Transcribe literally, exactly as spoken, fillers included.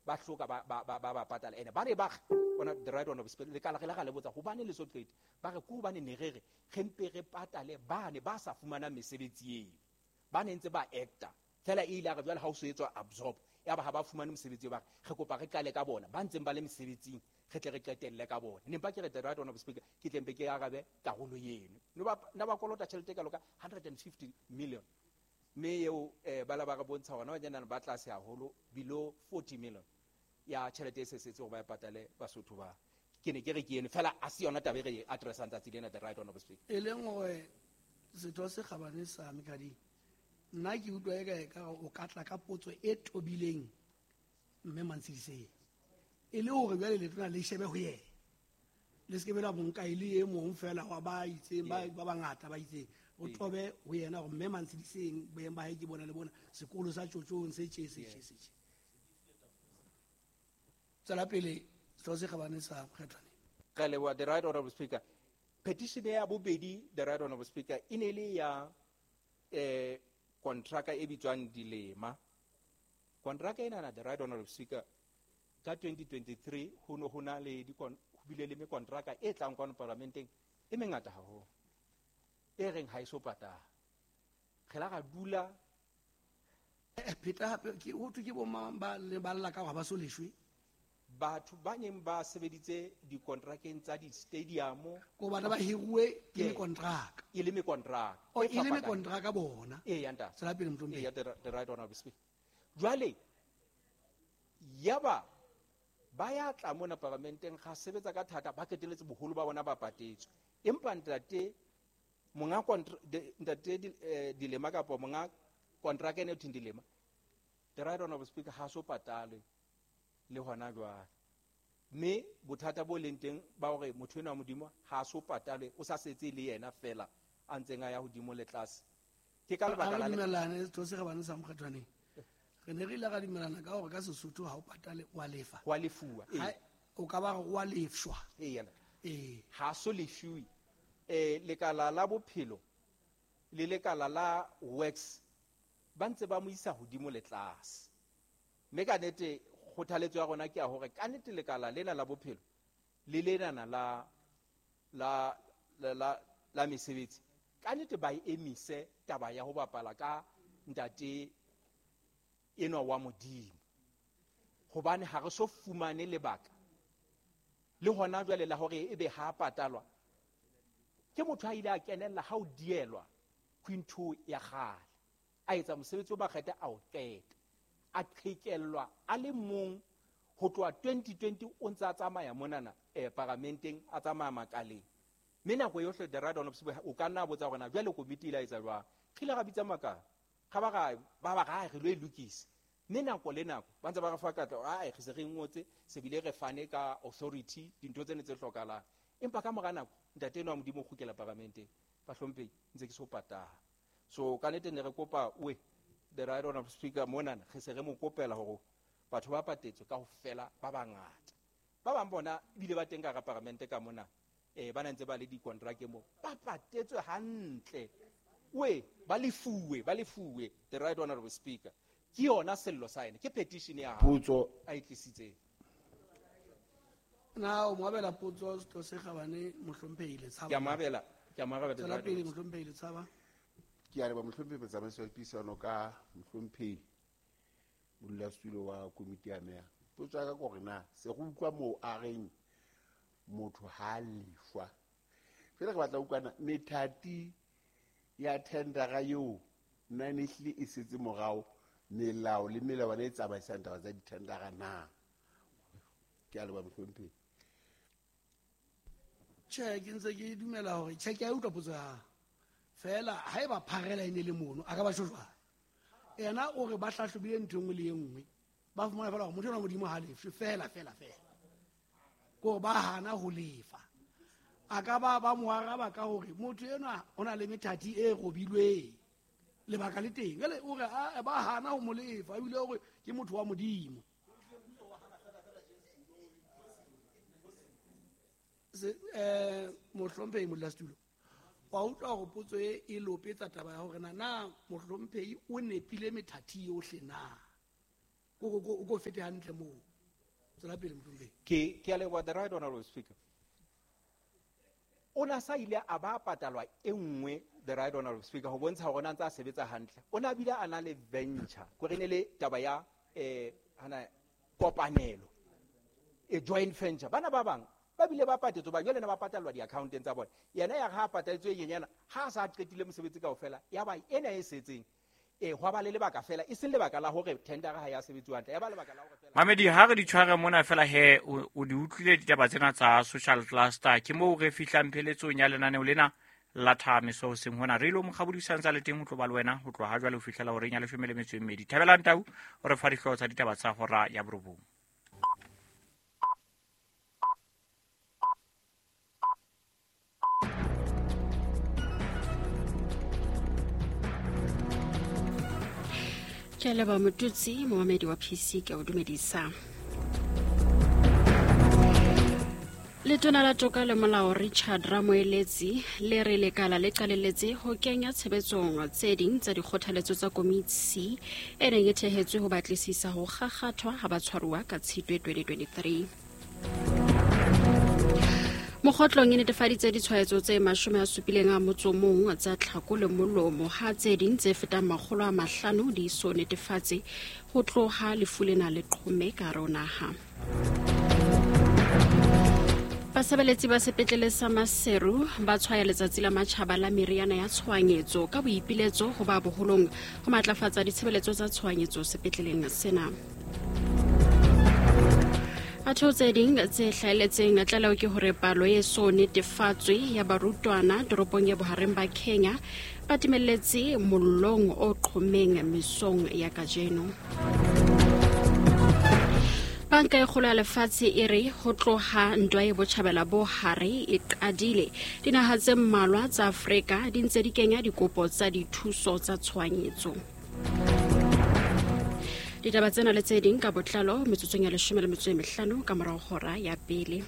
ba hloka ba ba ba ba patala ene ba ne ba ona the right one of speaker le kala re la le botsa hobane le so qete ba re ku hobane ne re re re mpe re patale ba ne ba sa fumana mesebetsi eo ba ne ntse ba actor fela e ile re jwale ha o so etswa absorb ya ba ha ba fumane mosebetsi ba re kopa re qale ka bona ba ntseng ba le mesebetsing re tle re qetelle ka bona ne mpa ke re the right one of speaker ke tle mpe ke arabe karolo eno no ba na ba kolota tjhelete ka loka one hundred fifty million mme eo eh ba la ba re bontsha hona ba jana ba tlase haholo below forty million ya tjhelete e sesetse hore ba e patale Basotho ba ke ne ke re ke eno fela a se yona taba e re addressang tsatsi lena the right one of speaker e leng hore setho se kgabane sa Mekading nna ke utlwa e ka e ka o ka tla ka potso e tobileng mme Mantshidiseng e le hore jwale letona le shebe ho yena le se ke be la monka e le e mong fela wa ba itseng ba ba bangata ba itseng o tobe ho yena hore mme Mantshidiseng boeng ba hae ke bona le bona sekolo sa Tjotjong se tje se tje se tje tsela pele setho se kgabane sa Mokgethwane re leboha the right honorable speaker petition ya bobedi the right honorable speaker e ne le ya eh kontraka e bitswang Dilema kontraka ena na the right honorable speaker ka twenty twenty-three ho no ho na le di ho bile le mekontraka e tlang kwano parlamenteng e mengata haholo e reng ha e so patala re la ra dula pheta hape ke ho thwe ke bo mang ba le ba lla ka hore ba so leshwe batho ba neng ba sebeditse dikontrakeng tsa di-stadium ko bana ba hiruwe ke mekontraka e le mekontraka o e le mekontraka bona e ya ntate tsela pele motlompe ya the right honorable speaker jwale yaba ba ya tla mona parlamenteng ga sebetsa ka thata ba keteletse boholo ba bona ba patetswe empa ntate monga ntate Dilema kapa monga kontraka ene thing Dilema the right honorable speaker ha so patalwe le hona jwale mme bothata bo leng teng ba hore motho ena wa Modimo ha so patalwe o sa setse le yena fela a ntseng a ya hodimo le tlase ke ka lebaka la dumelane setho se kgabane sa Mokgethwaneng re ne re ile ra dumelana ka hore ka Sesotho ha o patale wa lefa wa lefuwa ee o ka ba wa lefshwa ee yana ee ha so lefuwe eh lekala la bophelo le lekala la works ba ntse ba mo isa hodimo le tlase mme ka nete kgothaletso ya rona ke ya hore ka nete lekala lena la bophelo le lenana la la la la mesebetsi ka nete ba e emise taba ya ho bapala ka ntate enwa wa Modimo hobane ha re so fumane lebaka le hona jwale la hore ebe ha patalwa ke motho a ile a kenella ha o dielwa quinto ya kgale a etsa mosebetsi o makgetha a o qeta a qhekellwa a le mong ho tloha twenty twenty o ntse a tsamaya monana eh paramenteng a tsamaya makaleng mme nako yohle the right honorable o ka nna botsa hore na jwale komiti ile a etsa jwang re ile ra bitsa makala ga ba ga ba ba ga re lo e lokisa mme nako le nako ba ntse ba re fa katlo ai re se re ngotse se bile re fane ka authority dintho tsene tse hlokahalang empa ka mora nako ntate enwa wa Modimo o kgutlela paramenteng ba hlomphe ntse ke so patala so ka nete ne re kopa we the right honorable speaker monana re se re mo kopela hore batho ba patetswe ka ho fela ba bangata ba bang bona ebile ba teng ka hara paramente ka mona eh ba ntse ba le dikontrake mo ba patetswe hantle we ba lefuwe ba lefuwe the right honorable speaker ke yona sello sa ene ke petition ya potso a e tlisitseng na o moabela potso setho se kgabane mohlomphehi Letshaba ke a moabela ke a moabela tsela pele mohlomphehi Letshaba ke a leboha mohlomphehi motsamaisi wa dipuisano ka mohlomphehi modulasetulo wa komiti ya meya potso ya ka ke hore na se go utlwa moo a reng motho ha lefwa fela ke batla utlwana methati ya tendera eo nna ne ehlile e setse morao melao le melawana e tsamaisang taba tsa ditendera na ke a leboha mohlomphehi tjhe ke ntse ke dumela hore tjhe ke a utlwa potso ya hao fela haeba pharela e ne le mono a ka ba tjho jwang yena o re ba hlahlobile ntho e nngwe le e nngwe ba fumana fela hore motho enwa Modimo ha lefshwe fela fela fela ko ba hana ho lefa a ka ba ba mo araba ka hore motho enwa o na le methati e robilweng lebaka le teng jwale o re ba hana ho mo lefa ebile hore ke motho wa Modimo se eh mohlomphehi modulasetulo wa utlwa hore potso e e lopetsa taba ya hore na na mohlomphehi o nepile methati yohle na ko ko ko fete hantle moo Tswela pele mohlomphehi. Ke ke a leboha, the right honorable speaker. O na sa ile a ba patalwa e nngwe, the right honorable speaker, ho bontsha hore o na ntse a sebetsa hantle. O na bile a na le venture, kore ne le taba ya eh hana kopanelo, e joint venture. Bana ba bang ba bile ba patetswe, ba jwale na ba patalwa di-accounteng tsa bona. Yena ya ha patalletswe e nyenyana, ha a sa qetile mosebetsi kaofela, ya ba ena e setseng. E hwa ba le lebaka fela, e seng lebaka la hore tender ha ya sebetsuwa hantle, ya ba lebaka la hore fela. Mamedi, ha re di tshware mona fela he, o, o di utlwile ditaba tsena tsa social cluster. Ke moo re fihlang pheletsong ya lenaneo lena la Thamiso hoseng hona. Re ilo mokgabodisang tsa le teng ho tlo ba le wena ho tloha ha jwale ho fihlela horeng ya leshome le metso e mmedi. Thabelang Tau o re fa dihlooho tsa ditaba tsa hora ya borobong. Ke a leboha Motutsi, momamedi wa P C, ke a o dumedisa. Letona la Toka le Molao Richard Ramoeletsi le re lekala le qalelletse ho kenya tshebetsong tse ding tsa dikgothaletso tsa komiti e neng e thehetswe ho batlisisa ho kgakgathwa ha batshwaruwa ka Tshitwe twenty twenty-three. Mokgotlong e netefaditse ditshwaetso tse mashome a supileng a motso mong tsa tlhako le molomo, ha tse ding tse fetang makgolo a mahlano di so netefatse ho tloha lefu lena le qhome ka hare ho naha. Basebeletsi ba sepetlele sa Maseru ba tshwaya letsatsi la matjhaba la meriana ya tshohanyetso ka boipiletso ho ba boholong ho matlafatsa ditshebeletso tsa tshohanyetso sepetleleng sena. Atho tse ding tse hlahelletseng tlaleho ke hore palo e so netefatswe ya barutwana toropong ya bohareng ba Kenya ba timelletse mollong o qhomeng mesong ya kajeno. Banka e kgolo ya lefatshe e re ho tloha ntwa e botjhabela bo hare e qadile, dinaha tse mmalwa tsa Afrika di ntse di kenya dikopo tsa dithuso tsa tshohanyetso. Ditaba tsena le tse ding ka botlalo metsotsong ya leshome le metso e mehlano ka morao hora ya pele.